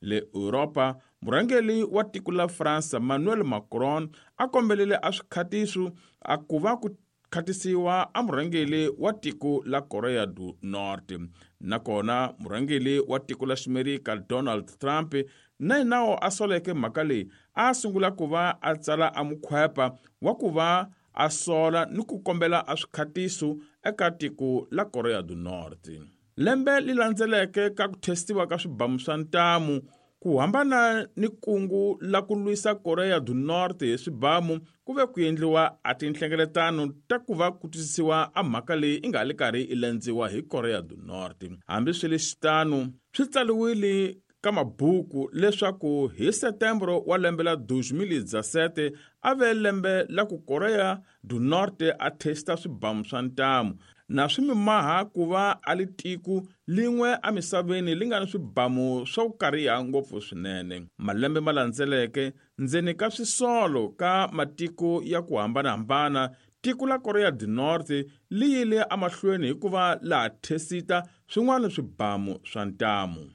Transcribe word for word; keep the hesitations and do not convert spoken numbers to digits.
Le Europa, murhangeri wa tiko la Fransa Emmanuel Macron a kombelele a swikhatiso a ku va ku khatisiwa a murhangeri wa tiko la Korea du Norte. Nakona murhangeri wa tiko la Ximerika Donald Trump na yena a soleke mhaka leyi, a sungula ku va a tsala a mukhwepa wa ku va a sola ni ku kombela a swikhatiso eka tiko la Korea du Norte. Lembe li landzeleke ka ku testiwa ka swibamu swa ntamu, ku hambana ni kungu la ku lwisa Korea du Norte hi swibamu, ku ve ku endliwa a tinhlengeletano ta ku va ku twisisiwa a mhaka leyi i nga li karhi i lendziwa hi Korea du Norte. Hambi swi le xitano, swi tsaliwile ka mabuku leswaku hi Setembro wa lembe la two thousand seventeen a ve lembe la ku Korea du Norte a testa swibamu swa ntamu, na swi mimaha ku va a li tiko lin'we emisaveni li nga ni swibamu swa ku kariha ngopfu swinene. Malembe ma landzeleke, ndzeni ka swisolo ka matiko ya ku hambanahambana, tiko la Korea du Norte li yile emahlweni hikuva laha thesita swin'wana swibamu swa ntamu.